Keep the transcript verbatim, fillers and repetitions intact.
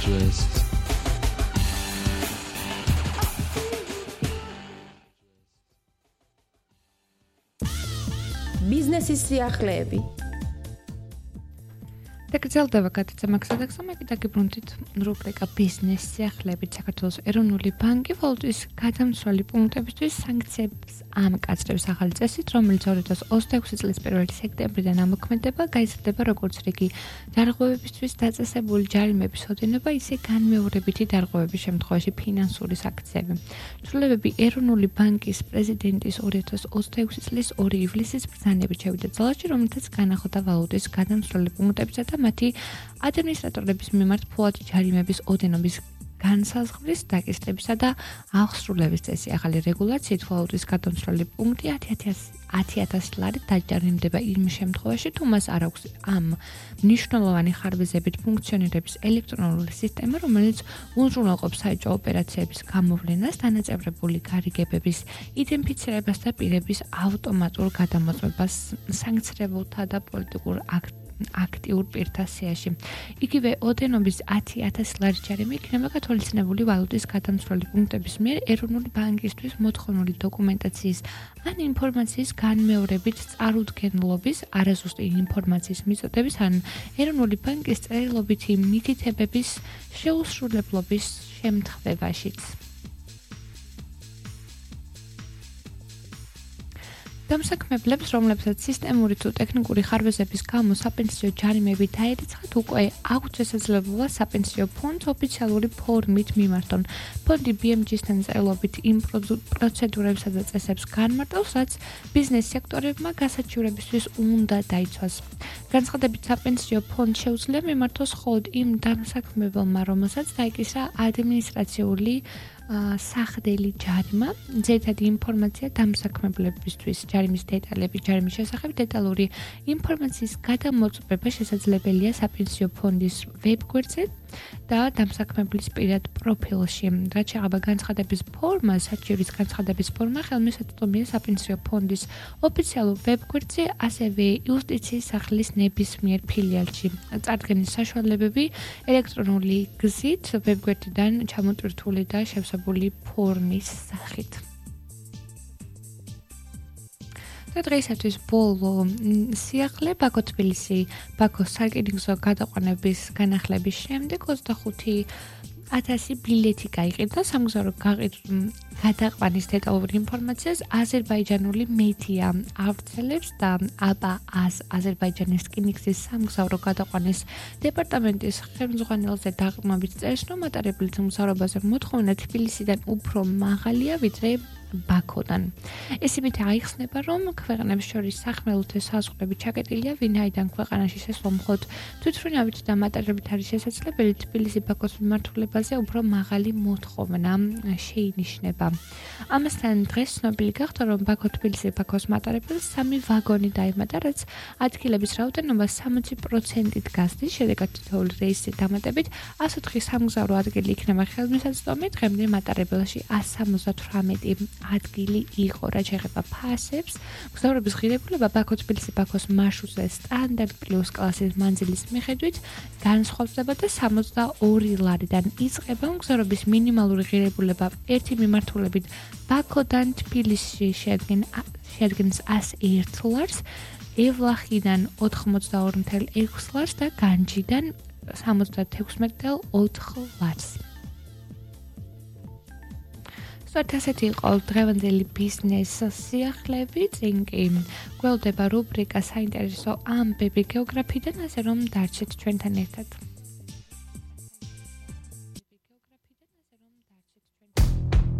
digest. ბიზნესის სიახლეები. დაგრძელდება გადაცემა მე დაგიბრუნდით რუბრიკა ბიზნეს სიახლეებით. საქართველოს ეროვნული ბანკი ვალუტის გადამცველი პუნქტებისთვის სანქციებს ამკაცრებს ახალი წესით, რომელიც ორი ათას ოცდაექვსი წლის პირველი სექტემბრიდან ამოქმედება, გაიზრდება როგორც რიგი დარღვევებისთვის დაწესებული ჯარიმების ოდენობა, ისე განმეორებითი დარღვევების შემთხვევაში ფინანსური სანქციები. ცვლილებები ეროვნული ბანკის პრეზიდენტის ორი ათას ოცდაექვსი წლის ორი ივლისის ბრძანებით შევიდა ძალაში, რომელთაც განახოდა ვალუტის გადამცველი პუნქტებისა და მათი ადმინისტრატორების მიმართ ფულადი ჯარიმების ოდენობის განსაზღვრის დაკისრებისა და აღსრულების წესი. ახალი რეგულაციით ვალუტის გადამცველი პუნქტი ათი ათასი ლარით დაჯარიმდება იმ შემთხვევაში, თუ მას არ აქვს ამ მნიშვნელოვანი ხარვეზებით ფუნქციონირების ელექტრონული სისტემა, რომელიც უზრუნველყოფს საეჭვო ოპერაციების გამოვლენას, დანაწევრებული გარიგებების იდენტიფიცირებას და პირების ავტომატურ გადამოწმებას სანქცირებულთა და პოლიტიკურ აქტ აქტიურ პირთა სიაში. იგივე ოდენობის ათი ათასი ლარის ჯარიმი იქნება გათვალისწინებული ვალუტის გადამცველი პუნქტების მიერ ეროვნული ბანკისთვის მოთხოვნილი დოკუმენტაციის ან ინფორმაციის განმეორებით წარუდგენლობის, არაზუსტი ინფორმაციის მიწოდების ან ეროვნული ბანკის წერილობითი მითითებების შეუსრულებლობის შემთხვევაშიც. დამსაქმებლებს, რომლებსაც სისტემური თუ ტექნიკური ხარვეზების გამო საპენსიო ჯარიმები დაერიცხათ, უკვე აქვთ შესაძლებლობა საპენსიო ფონდს ოფიციალური ფორმით მიმართონ. ფონდი ბი ემ ჯი-სთან წერილობით იმ პროცედურებსა და წესებს განმარტავს, რაც ბიზნეს სექტორებმა გასაჩივრებისთვის უნდა დაიცვას. განცხადებით, საპენსიო ფონდს შეუძლია მიმართოს მხოლოდ იმ დამსაქმებელმა, რომელსაც დაიკისრა ადმინისტრაციული სახლდელი ჯარიმა, ძირითადი ინფორმაცია დამსაქმებლებისთვის, ჯარიმის დეტალები, ჯარიმის შესახებ დეტალური ინფორმაციის გადამოწმება შესაძლებელია საპენსიო ფონდის ვებგვერდზე და დამსაქმებლის პირად პროფილში. რაც შეეხება განცხადების ფორმას, საჩივრის განცხადების ფორმა ხელმისაწვდომია საპენსიო ფონდის ოფიციალურ ვებგვერდზე, ასევე იუსტიციის სახლის ნებისმიერ ფილიალში. წარდგენის საშუალებები ელექტრონული გზით ვებგვერდიდან ჩამოტვირთული და შევსებული ფორმის სახით. და დღეისათვის ბოლო სიახლე ბაქო თბილისი ბაქოს სარკინიგზო გადაყვანების განახლების შემდეგ ოცდახუთი ათასი ბილეთი გაიყიდა. სამგზავრო გადაყვანის დეტალური ინფორმაციას აზერბაიჯანული მედია ავრცელებს და აბა ას აზერბაიჯანის რკინიგზის სამგზავრო გადაყვანის დეპარტამენტის ხელმძღვანელზე დაყრდნობით წერს, რომ მატარებლის მგზავრობაზე მოთხოვნა თბილისიდან უფრო მაღალია, ვიდრე ბაქოდან. ეს იმით აიხსნება, რომ ქვეყნებს შორის სახმელეთო საზღვრები ჩაკეტილია, ვინაიდან ქვეყანაში შესვლა მხოლოდ თვითმფრინავით და მატარებით არის შესაძლებელი, თბილისი-ბაქოს მიმართულებაზე უფრო მაღალი მოთხოვნა შეინიშნება. ამასთან დღეს ცნობილი გახდა, რომ ბაქო-თბილისი-ბაქოს მატარებელს სამი ვაგონი დაემატა, რაც ადგილების რაოდენობა სამოცი პროცენტით გასდის, შედეგად თითოეული რეისის დამატებით ასი ოთხი სამგზავრო ადგილი იქნება ხელმისაწვდომი, დღემდე მატარებელში ასი სამოცდათვრამეტი ადგილი იყო. რაც შეეხება ფასებს, მგზავრობის ღირებულება ბაქო-თბილისი-ბაქოს მარშრუტზე სტანდარტ პლუს კლასის მანძილის მიხედვით განსხვავდება და სამოცდაორი ლარიდან იწყება. მგზავრობის მინიმალური ღირებულება ერთი მიმართულებით ბაქოდან თბილისში შეადგენს ასი ერთ ლარს, ევლახიდან ოთხმოცდაორი ათეული ექვსი ლარს და განჯიდან სამოცდათექვსმეტი ათეული ოთხი ლარს. სწორედ ასეთი იყო დღევანდელი ბიზნეს სიახლეები. წინ კი გველდება რუბრიკა საინტერესო ამბები გეოგრაფიიდან, ასე რომ დარჩეთ ჩვენთან ერთად.